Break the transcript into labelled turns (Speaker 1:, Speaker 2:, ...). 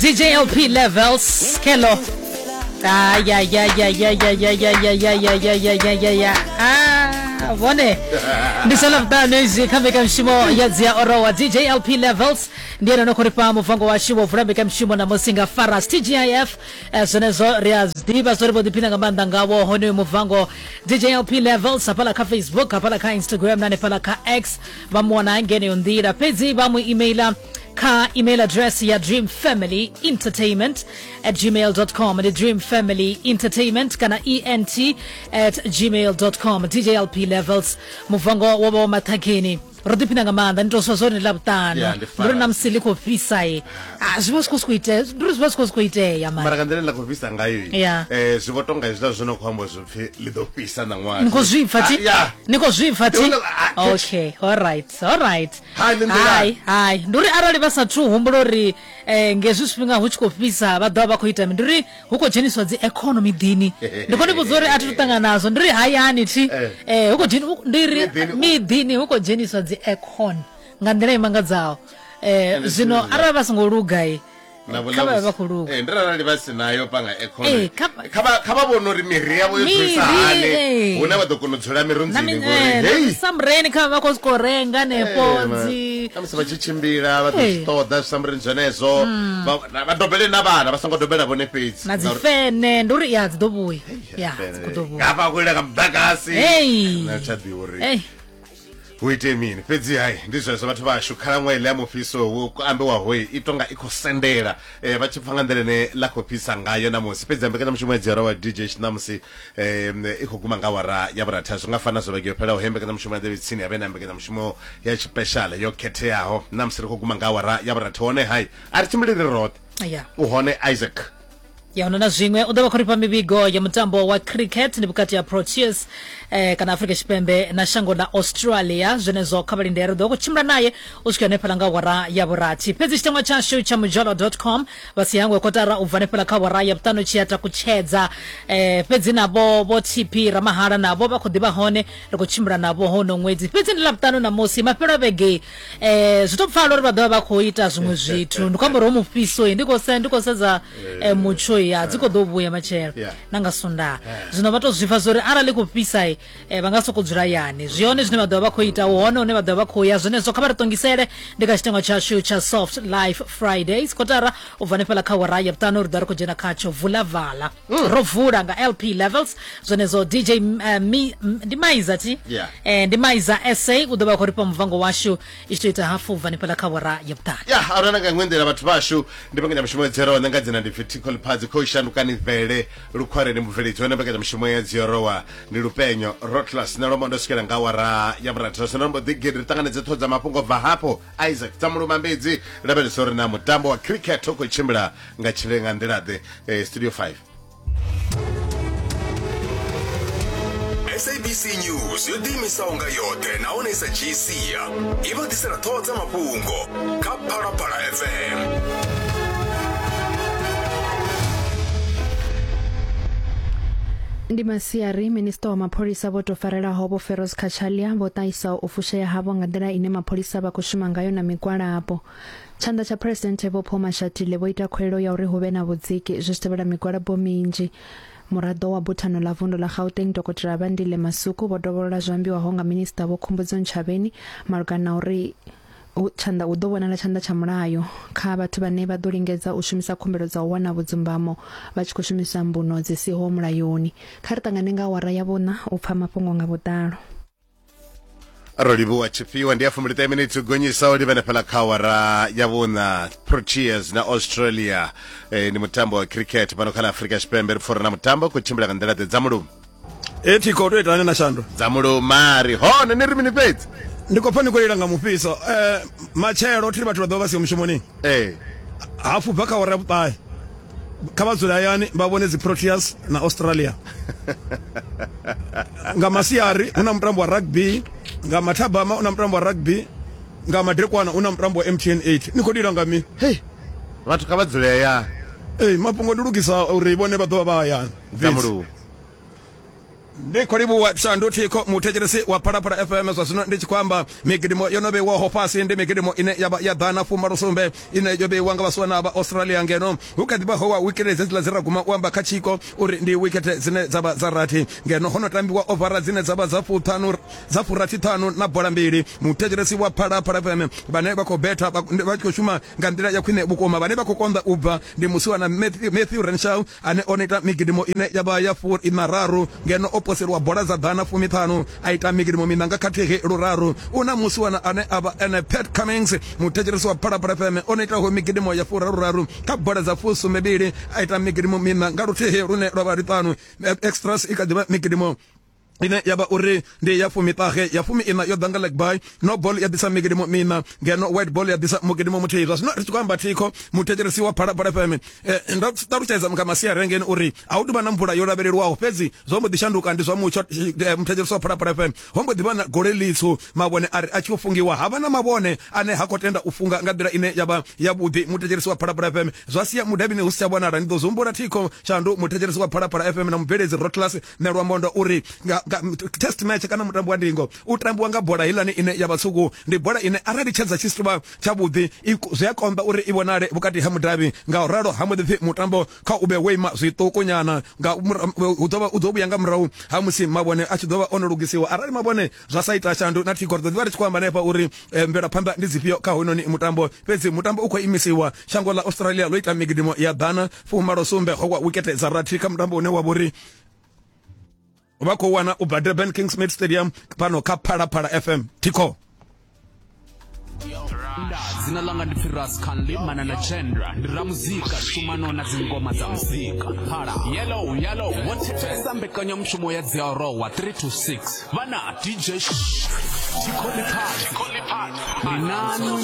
Speaker 1: DJ LP Levels Kelo. Ay ay ay ay ay ay ay ay ay ay ay ay ay ay ay ay. Ah, vhone ndi sala vhuṱanu izwi kha mbekanyamushumo ya dzia orowa DJ LP Levels ndi ene no khou ri fha muvango washu wo vula mbekanyamushumo namusi nga Faras TGIF. Zwenezwo ri a zwi ḓivha zwo ri vho ḓiphina nga maanḓa ngawo honoyu muvango. DJ LP Levels hafhaḽa kha Facebook, hafhaḽa kha Instagram na hanefhaḽa kha X vha mu wana ngeneyo nḓila, fhedzi vha mu emaila kha email address ya dreamfamilyentertainment at gmail com. Ndi dreamfamilyentertainment kana ent at gmail com. DJ LP Levels muvango wo vha wa maṱhakheni, ro ḓiphina nga maanḓa. Ni tou swa zwone ḽavhuṱanu.
Speaker 2: Yeah, ndi
Speaker 1: ndi uri na
Speaker 2: fara.
Speaker 1: musi ḽi khou fhisa i ah, zwi vha zwi khou sokou itea, ndi uri zwi vha zwi khou sokou itea mara
Speaker 2: Mara nga nḓila ine ḽa khou fhisa ngayo i, zwi vho tonga hezwiḽa zwo no khou amba zwo pfhi ḽi ḓo fhisa ṋaṅwaha.
Speaker 1: Ni khou zwi pfa thi?
Speaker 2: Ah, yeah.
Speaker 1: Ni khou zwi pfa thi?
Speaker 2: Ndi vhona- ah,
Speaker 1: Okay, all right, all right.
Speaker 2: Hai, ndi nḓila.
Speaker 1: Hai, hai, ndi uri arali vha sathu humbula uri ngezwi zwifhinga hu tshi khou fhisa vha ḓovha vha khou ita mini, ndi uri hu khou dzheniswa dzi aircon miḓini. Ndi khou ni vhudza uri a thi tu ṱangana nazwo, ndi uri hayani thi hu khou dzheni, ndi ri
Speaker 2: Miḓini u-
Speaker 1: miḓini hu khou dzheniswa dzi aircon nga nḓila i mangadzaho.
Speaker 2: Ende
Speaker 1: Zwino
Speaker 2: zwine zwa-
Speaker 1: arali vha songo luga i
Speaker 2: Na vho-
Speaker 1: kha
Speaker 2: na
Speaker 1: vha vhe
Speaker 2: vho-
Speaker 1: vha khou luga.
Speaker 2: Ndi arali vha si nayo panga aircon.
Speaker 1: Kha-
Speaker 2: Kha vha kha vha vhone uri miri yavho yo dzulisa
Speaker 1: Miri,
Speaker 2: hani hune vha ḓo kona u dzula
Speaker 1: Na
Speaker 2: mirunzini
Speaker 1: mi-
Speaker 2: ngori
Speaker 1: na
Speaker 2: hei
Speaker 1: misambureni kha vha vha khou sokou renga hanefho dzi
Speaker 2: Na musi vha tshi tshimbila vha ḓo zwi ṱoḓa zwisambureni zwenezwo. Vha dobele na vhana, vha songo dobela vhone fhedzi.
Speaker 1: Na dzi
Speaker 2: Ngauri-
Speaker 1: fene, ndi uri ya dzi ḓo vhuya, ya dzi khou ḓo vhuya.
Speaker 2: Ngafha khou ila nga muḓagasi.
Speaker 1: Hey.
Speaker 2: Na tsha ḓivha uri
Speaker 1: Hey.
Speaker 2: hu ite mini, fhedzi hai ndi zwezwo vhathu vhashu. Khalaṅwaha iḽa ya mufhiso wo ambiwaho i tonga i khou sendela, vha tshi pfa nga nḓila ine ḽa khou fhisa ngayo namusi. Fhedzi mbekanyamushumo ya dzhielwa wa DJ namusi i khou guma nga awara ya vhurathu, zwi nga fana zwo vhege yo fhelaho he mbekanyamushumo ya ḓevhe tsini ya vhe na mbekanyamushumo ya tshipeshala yo khetheaho. Namusi ri khou guma nga awara ya vhurathu, hone hai a ri tshimbili ri roṱhe, u hone Isaac.
Speaker 1: Ya huna na zwiṅwe u ḓo vha khou rifha mivhigo ya mutambo wa cricket, ndi vhukati ha Proteas kana Afrika Tshipembe na shango ḽa Australia. Zwenezwo kha vhalindele, ri ḓo vha khou tshimbila naye u swika hanefhaḽa nga awara ya vhurathi. Fhedzi tshiteṅwa tshashu tsha mujolo com vha si hangwe kotara u bva hanefhaḽa kha awara ya vhuṱanu tshi ya takutshedza. Fhedzi navho vho TP Ramahala navho vha khou ḓivha hone, ri khou tshimbila navho hono ṅwedzi. Fhedzi ndi Ḽavhuṱanu ṋamusi, mafhelo a vhege zwi to pfala uri vha ḓovha vha khou ita zwiṅwe zwithu. Ndi khou amba uri ho mufhiso ndi khou se ndi khou sedza mutsho ya dzi khou ḓo vhuya matshelo na nga Sundaha. Zwino vha to zwi pfa uri arali khou fhisa vha nga soko dzula yani, zwi hone zwine vha ḓovha vha khou ita, hu hone hune vha ḓovha vha khou ya. Zwenezwo kha vha ri ṱongisele ndi kha tshitengo tshashu tsha Soft Life Fridays, kotara u bva hanefhaḽa kha awara ya vhuṱanu ri ḓo ri khou dzhena khatsho vula vala. Ro vula nga LP Levels. Zwenezwo DJ mi, ndi Maiza thi? Ndi Maiza SA u ḓo vha khou rifha muvango washu i tshi to ita hafu bva hanefhaḽa kha awara ya vhuṱanu.
Speaker 2: Ya arana nga iṅwe nḓila vhathu vhashu ndi mbekanyamushumo ya dzero nṋe nga dzina ndi pfi Thikho Liphadzi khou shandukani vele lukhwareni mubveledzi hone mbekanyamushumo ya dziorowa ndi Lupenyo Rotlas na lombo ndo swikela nga awara ya vhurathu zwino mbo ḓi gidi ri ṱanganedze ṱhoho dza mafhungo bva hafho Isaac Tsamuluma Mbedzi lavhelesa uri na mutambo wa cricket u khou tshimbila nga tshile nga nḓila ḓe. Studio 5.
Speaker 3: SABC News yo ḓiimisaho nga yoṱhe nahone i sa dzhii sia i vha ḓisela ṱhoho dza mafhungo kha Phalaphala FM.
Speaker 4: Ndi masiari, minista wa mapholisa vho tou farelaho Vho Feroz Cachalia vho ṱahisa u fushea havho nga nḓila ine mapholisa vha khou shuma ngayo na migwalabo. Tshanḓa tsha Phresidennde Vho Paul Mashatile vho ita khuwelelo ya uri hu vhe na vhudziki zwi tshi tevhela migwalabo minzhi. Muraḓo wa Buthano ḽa Vundu ḽa Gauteng Dokotela Bandile Masuku vho dovholola zwo ambiwaho nga Minisiṱa Vho Khumbudzo Ntshavheni malugana na uri hu tshanḓa hu ḓo vhonala tshanḓa tsha mulayo kha vhathu vhane vha ḓo lingedza u shumisa khumbelo dza u wana vhudzumbamo vha tshi khou shumisa mbuno dzi siho mulayoni. Kha ri ṱangane nga awara ya vhuṋa u pfa mafhungo nga vhuḓalo.
Speaker 2: Ro livhuwa tshifhiwa. Ndi ya 15 minutes u gonyisa u livhene fhala kha awara ya vhuṋa. Proteas na Australia, ndi mutambo wa cricket fhano kha ḽa Afrika Tshipembe. Ri pfha uri na mutambo khou tshimbila nga nḓila ḓe dza mulumo.
Speaker 5: E thikho to itani na shando
Speaker 2: dza mulumari hone ni ri mini fhedzi?
Speaker 5: Ndi khou pfa ni khou lila nga mufhiso. Matshelo thiri vhathu vha ḓo vha siho mushumoni. Hafu bva kha awara ya vhuṱahe kha vha dzule hayani vha vhone dzi Proteas na Australia. Nga masiari hu na mutambo wa rugby, nga mathabama hu na mutambo wa rugby, nga madekwana hu na mutambo wa MTN 8. Ni khou lila nga mini?
Speaker 2: Hey, vhathu kha vha dzule hayani.
Speaker 5: Ee, mafhungo ndi lugisa uri vhone vha ḓo vha vha hayani.
Speaker 2: Dza mulungu.
Speaker 5: Ndi khou livhuwa Shandu Thikho, muthetshelesi wa Phalaphala FM. Zwa zwino ndi tshi khou amba migidimo yo no vheiwaho fhasi ndi migidimo ine ya vha ya ḓana fumalo sumbe ine yo vheiwa nga vhasiwana vha Australia, ngeno hu kha ḓi vha ho wa wikete dzedziḽa dze ra guma u amba kha tshiko uri ndi wikete dzine dza vha dza rathi, ngeno ho no tambiwa ovara dzine dza vha dza fuṱhanu dza furathi ṱhanu na bola mbili. Muthetshelesi wa Phalaphala FM, vhane vha khou betha vha tshi khou shuma nga nḓila ya khwine vhukuma, vhane vha khou konḓa u bva ndi musiwana Matthew Renshaw ane o no ita migidimo ine ya vha ya fu iṋa raru, ngeno o poseliwa bola dza ḓana fumiṱhanu a ita migidimo miṋa nga khathihi luraru. U na musiwana ane a vha ene Pat Cummins, muthetshelesi wa Phalaphala FM, o no itaho migidimo ya furaru-raru kha bola dza fusumbembili a ita migidimo miṋa nga luthihi lune lwa vha luṱanu. Extras i kha ḓi vha migidimo ine ya vha uri ndi ya fumiṱahe, ya fumi ina yo ḓa nga leg bye, no ball ya ḓisa migidimo miṋa, ngeno white ball ya ḓisa mugidimo muthihi. Zwa zwino ri tshi khou amba thikho, muthetshelesi wa Phalaphala FM, ndo ṱalutshedza nga masiari ngeni uri a hu tuvha na mvula yo lavhelelwaho, fhedzi zwo mbo ḓi shanduka ndi zwa mutsho. Muthetshelesi wa Phalaphala FM, ho mbo ḓi vha na gole ḽitswu, mavhone a ri a tshi u fungiwa ha vha na mavhone ane ha khou tenda u funga nga nḓila ine ya vha yavhuḓi. Muthetshelesi wa Phalaphala FM, zwa sia mudavhini hu si tsha vhonala. Ndi ḓo zwi humbula thikho Shandu, muthetshelesi wa Phalaphala FM, na mubveledzi Rotlas Nelwamondo uri nga, nga test match kana mutambo wa ndingo u tambiwa nga bola heiḽani ine ya vha tswuku. Ndi bola ine arali tshedza tshi si vha tshavhuḓi zwi a konḓa uri i vhonale vhukati ha mudavhi, nga u ralo ha mbo ḓi pfi mutambo kha u vhe wo ima zwiṱuku nyana, nga hu ḓo vha u ḓo vhuya nga murahu ha musi mavhone a tshi ḓo vha o no lugisiwa. Arali mavhone zwa sa ita, Shandu na Thikho, ri ḓo ḓi vha ri tshi khou amba hanefha uri mvelaphanḓa ndi dzifhio kha hoyunoni mutambo, fhedzi mutambo u khou imisiwa. Shango ḽa Australia ḽo ita migidimo ya ḓana fumalo sumbe, ho wa wikete dza rathi kha mutambo une wa vhori vha khou wana u bva Durban Kingsmead Stadium fhano kha Phalaphala FM. Thikho.
Speaker 6: Nda dzina ḽanga ndi pfi Ras Canly mana na Chandra, ndi ramuzika, shumano na dzingoma dza muzika. Phala yellow yellow vho thetshelesa mbekanyamushumo ya Dziarowa 3 to 6 vhana DJ Thikho Ḽiphathi. Ri nanu.